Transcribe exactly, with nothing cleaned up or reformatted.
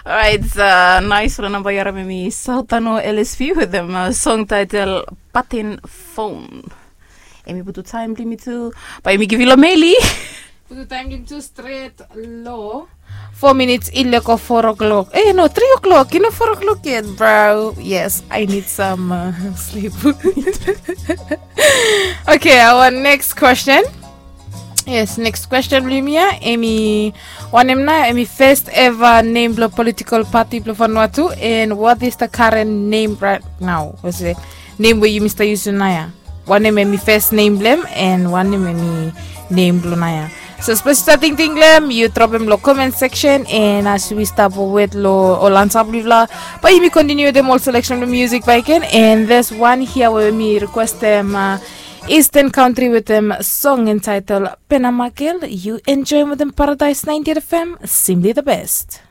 Orait, nais ol namba yaram em i Sautano L S P wetem song taitel Patin Fon. Em i putu taim blong yumi tu, bae yumi givim long Meli. Putu taim blong yumi tu stret long four minutes i leko four o'clock. Eh, no, three o'clock. You know, four o'clock yet, bro. Yes, I need some uh, sleep. Okay, our next question. Yes, next question blong yumi ya, em i wanem nao em i first ever name blong political party blong Vanuatu, and what is the current name right now? Was it name we yumi stap yusum nao ya? Wanem em i first name blong em, and wanem em i name blong nao ya? So sapos yu stap tingting long em, yu dropim long comment section, and as we stap wet long ol ansa blong yufala, bae yumi continue wetem ol selection blong music bakegen, and there's one here we mi requestem uh, Eastern Country wetem song entitled Penamagel. Yu enjoy wetem Paradise ninety-eight F M, simply the best.